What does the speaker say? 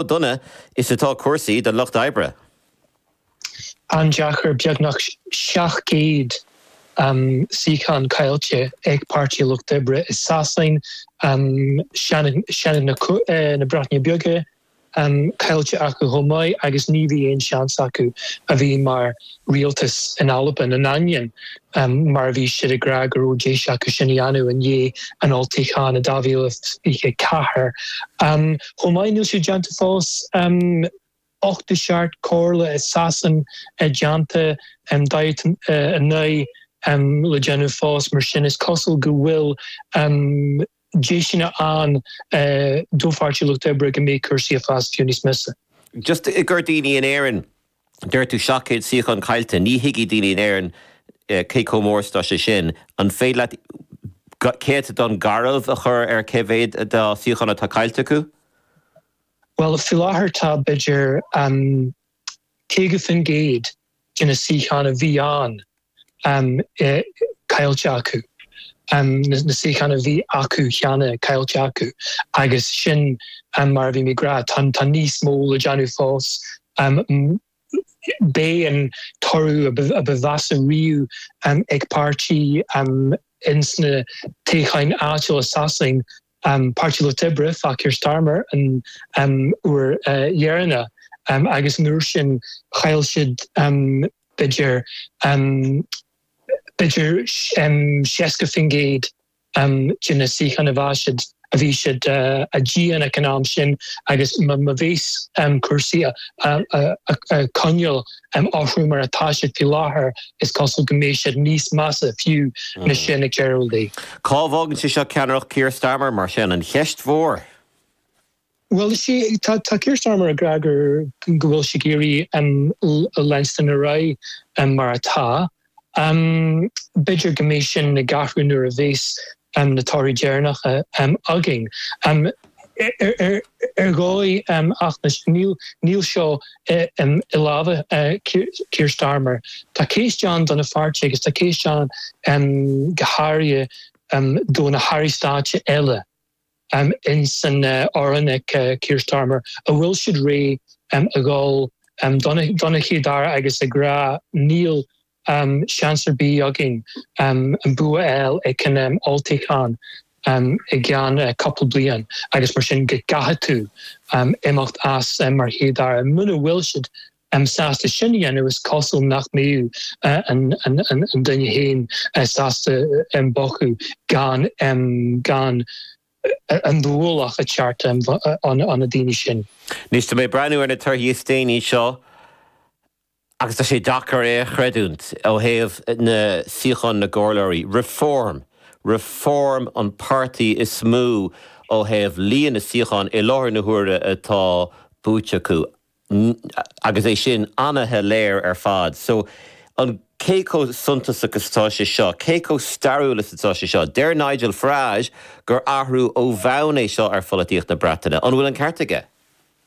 dona is atá cúrsaí don Lucht Oibre? An-deacair, beagnach 700 suíochán caillte ag Páirtí Lucht Oibre i Sasain, Seanad na Breataine Bige caillte acu chomh maith agus ní bhí aon seans acu a bhí mar rialtas in Albain, in ainneoin mar a bhí siad ag rá go raibh deis acu sin a dhéanamh i ndiaidh an olltoghcháin i 2024. Chomh maith, níl sé déanta fós 87 comhairle i Sasain déanta, 49 le déanamh fós, mar sin is cosúil go bhfuil deiseanna ann do Pháirtí Lucht Oibre go mbeidh cúrsaí ag fás fiú níos measa. Just i gcomhair daoine in Éirinn, deir tú 700 suíochán caillte, ní thuigfidh daoine in Éirinn cé chomh mór is atá sé sin. An féidir leat céatadán garbh a chur ar cé mhéad dá suíochán atá caillte acu? Bhuel, faoi láthair tá b'fhéidir 50% de na suíocháin a bhí ann caillte acu, na suíocháin a bhí acu cheana caillte acu agus sin mar a bhí mé ag rá, tá níos mó le déanamh fós. B'é an toradh a ba mheasa riamh ag páirtí ins na toghcháin áitiúla i Sasain Páirtí Lucht Oibre, fá Keir Starmer an uair dheireanach agus an uair sin chaill siad b'fhéidir b'fhéidir 60% de na suíocháin a bhí siad a bhí siad a déanamh an am sin agus má bheas cúrsaí a coinneáil orthu mar atá siad faoi láthair, is cosúil go mbeidh siad níos measa fiú ná sin ag deireadh an lae. Cá bhfágann sé seo ceannaireacht Keir Starmer, mar sin? An cheist mhór. Bhuel, is é, tá Keir Starmer ag rá go bhfuil sé ag iarraidh leanstan ar aghaidh mar atá. B'fhéidir go mbeidh sin ag athrú nuair a bheas na torthaí deireanacha againn. Ar dhóigh, ach níl seo i lámha Keir Starmer. Tá ceist ann do na pháirtithe agus tá ceist ann go háirithe do na hairí stáit eile ins an fhoireann ag Keir Starmer, an bhfuil siad réidh a dhul dona Chéad-Aire agus ag rá níl seans ar bith againn an bua a fháil ag an olltoghchán i gceann cúpla bliain agus mar sin go gcaithfidh tú imeacht as mar Chéad-Aire. Muna bhfuil siad sásta sin a dhéanamh is cosúil nach mbeidh an duine féin sásta bogadh gan gan an t-ualach ag teacht ar na daoine sin. Anois tá mé ag breathnú ar na torthaí is déanaí seo. Agus tá sé deacair é a chreidiúint ó thaobh na suíochán na gcomhairleoirí. Reform, Reform an páirtí is mó ó thaobh líon na suíochán i láthair na huaire atá buaite acu. Agus é sin an-shoiléir ar fad. So, an cé chomh suntasach is atá sé seo? Cé chomh stairiúil is atá sé seo? Deir Nigel Farage gur athrú ó bhonn é seo ar pholaitíocht na Breataine. An bhfuil an ceart aige?